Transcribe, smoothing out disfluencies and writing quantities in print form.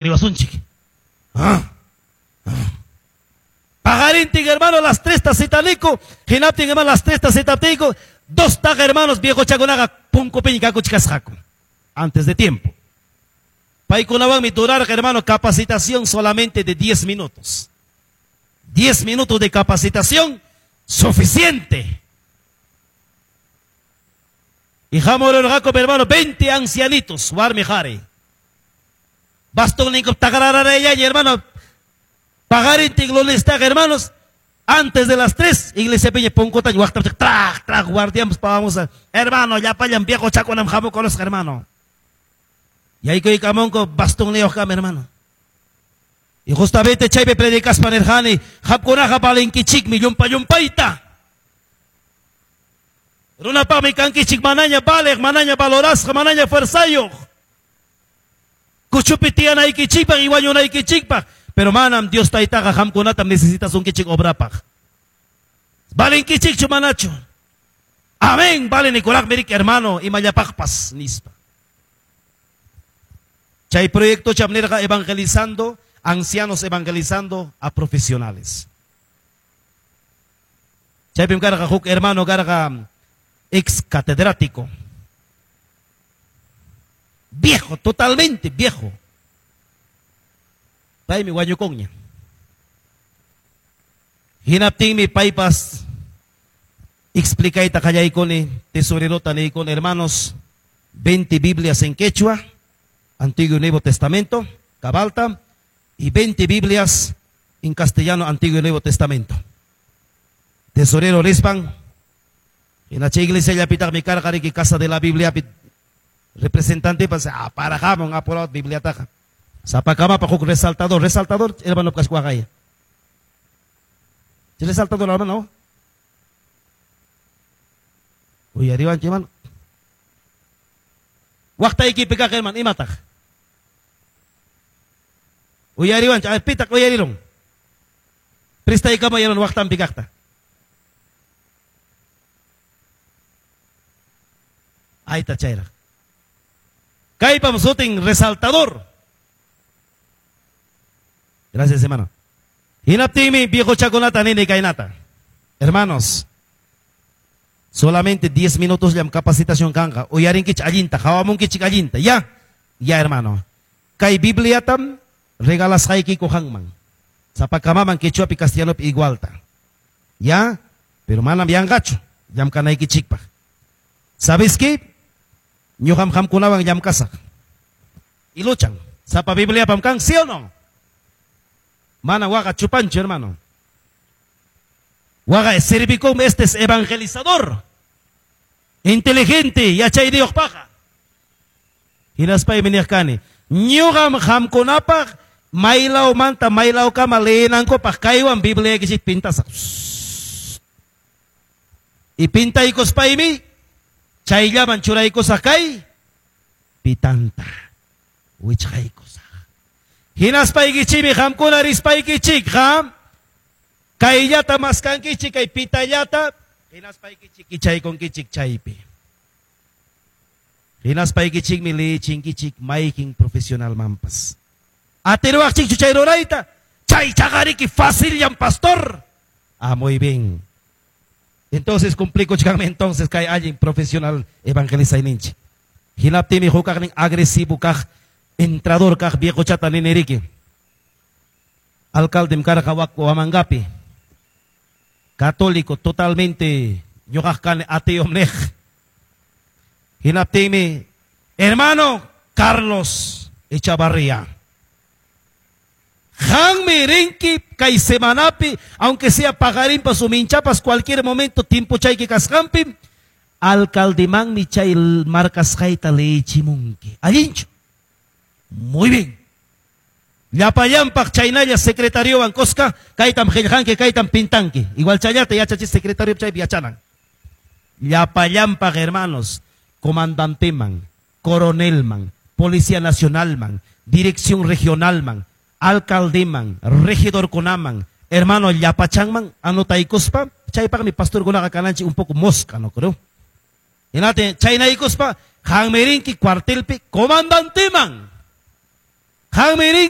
Riwasunchik. Ah. Ah. Paqarintin, hermano, las 3 citaniku, hinaptin, hermano, las 3 citaptiyku, dos taqa, hermanos, viejochakunaqa punkupiña kakuchkasqaku. Antes de tiempo. Paykunawanmi durarqa, hermano, capacitación solamente de 10 minutos. 10 minutos de capacitación suficiente. Y hamururqaku, hermano, 20 ancianitos, warmi qhari. Bastonninkup taqarararayllaña, hermano. Paqarintin lunestaqa, hermanos, antes de las 3, iglesiapiña punkutaña waqtapichaq, traq, traq, guardianpas pawamos, hermano, llapallan viejochakunam hamukurusqa, hermano. Yaykuykamunku bastonniyuqkama, hermano. Y justamente chaypi predicaspa nirqani, qamkunaqa valenkichikmi llumpa llumpayta. Runapaqmi kankichik manaña valeq, manaña valorasqa, manaña fuerzayuq. Kuchupi tiyanaykichikpaq y wañunaykichikpaq. Pero manam Dios Taytaqa qamkunatam necesitasunkichik obrapaq. Valenkichikchu manachu? Amén, vale nikuraqmi riki, hermano, imallapaqpas, nispa. Chay proyectocham nirqa evangelizando, ancianos evangelizando a profesionales. Chaypim karqa huk hermano karqa ex catedrático. Viejo, totalmente viejo. Paymi wañukunña. Hinaptinmi paypas explicayta qallaykuni, tesorerota niykuni, hermanos, 20 Biblias en quechua, Antiguo y Nuevo Testamento, cabalta, y 20 Biblias en castellano, Antiguo y Nuevo Testamento. Tesorero rispan, hina chay iglesiallapitaqmi karqa riki Casa de la Bibliapi representante pas aparajamun apurado Bibliataqa. Sapakamapaq huk resaltador, resaltador, hermano kaswaqaya. Resaltador, hermano. Uyariwanchik, hermano. Waqtaykipi kaq, hermano, imataq? Uyariwanchik, ay, pitaq uyarirun. Prestaykamay, hermano, waqtanpi kaqta. Ayta chayraq. Kaypam sutin resaltador. Gracias, hermano. Hinaptinmi viejochakunata nini kaynata. Hermanos, solamente 10 minutos llam capacitación kanqa. Uyarinkichik allinta, hawamunkichik allinta. Ya, ya, hermano. Kay Bibliatam regalasqaykiku qanman. Sapakamaman quechuapi castellanopi igualta. Ya, pero manam yanqachu llamkanaykichikpaq. ¿Sabes qué? Ñuqam qamkunawan llamkasaq. Y luchan. Sapa Bibliapam kan, ¿sí o no? Mana waqa chupanchu, hermano. Waqa servicum, este es evangelizador. Inteligente, yachayniyuq paqa. Hinaspaymi niq kani, ñuqam qamkunapaq maylawmanta maylawkama leenankupaq kaywan Bibliaykichik pintasaq. Y pintaykuspaymi chayllaman churaykusaq kay pitanta wichqaykusaq. Hinaspaykichikmi qamkuna rispaykichikqa kayllata maskankichik, kay pitallata, hinaspaykichik kichaykunkichik chaypi. Hinaspaykichikmi leechinkichik mayqin profesionalmanpas. Atiruwaqchikchu chay rurayta? Chay chaqariki facillan, pastor. Ah, muy bien. Entonces cumplikuchkanmi entonces kay allin profesional evangelizayninchik. Hinaptinmi hukaqnin agresivo kaq, entrador kaq viejochata niniriki. Alcaldem karqa Huamangapi. Católico totalmente, ñuqaq kani ateom niq. Hinaptinmi, hermano Carlos Echavarría. Qanmi rinki kay semanapi, aunque sea paqarinpas o minchapas, cualquier momento tiempochayki kasqanpi, alcaldemanmi chay marcasqayta leechimunki. Allinchu. Muy bien. Llapallanpaq chaynalla secretariowan kuska, kaytam qillqanki, kaytam pintanki. Igual chayllata yachachi secretario chaypi yachanan. Llapallanpaq, hermanos, comandanteman, coronelman, policía nacionalman, dirección regionalman, alcaldeman, regidorkunaman, hermano llapachanman, anotaykuspa, chaypaqmi pastorkunaqa kananchik un poco mosca, no creo. Hinate, chaynaykuspa, qanmi rinki cuartelpi comandanteman. Qanmi rinki.